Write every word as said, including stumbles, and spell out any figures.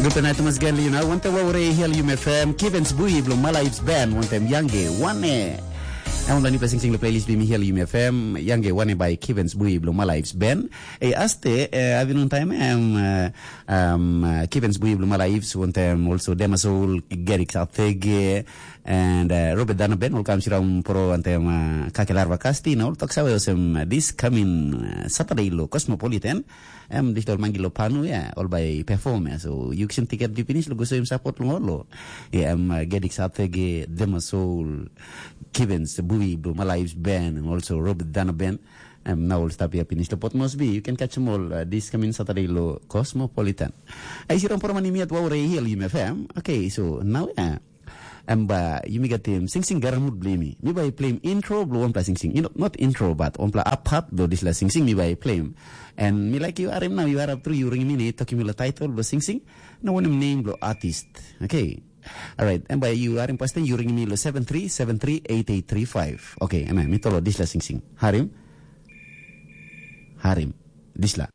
Guten Nacht, Thomas Gelli, you know, wantem wau rei hial Yum F M, Kivens Bui bilong Mala Ips Band, wantem Yangge, wane. Em wan nipa singsing lo playlist bimi hial Yum F M, Yangge, wane by Kivens Bui bilong Mala Ips Band. E aste, eh, avinun time, em, eh, um, uh, Kivens Bui bilong Mala Ips, wantem also Dema Soul, Gerik Satege, and uh, Robert Dana Ben, ol kam siram pro wantem uh, Kakelar Vakasti, na ol toksawe osem uh, this coming uh, Saturday lo Cosmopolitan, em digital mangi lo panu ya, ol bai perform ya. So you can ticket di finish lo go so im support lo lo. Ya, em uh, Gedik Satege, Dema Soul, Kivens Bui bilong Mala Ips Band, and also Robert Dana Ben. Em na ol stap ya finish lo Port Moresby. You can catch them all uh, this coming Saturday lo Cosmopolitan. Ai siram pro mani miat wau rei hial Yum F M. Okay, so now ya. Em ba yumi gatim singsing garamut bilong yumi. Mi bai play intro bilong wanpela singsing. You know, not intro, but wanpela up part bilong dispela singsing mi bai play. And mi like you arim now, you are up through, you ring mi ni tokim mi lo title bilong singsing. No wanem name bilong artist. Okay. Alright, em bai you arim pasten you ring mi lo seven three seven three eight eight three five. Okay, em mi tolo dispela singsing. Harim. Harim. Dispela.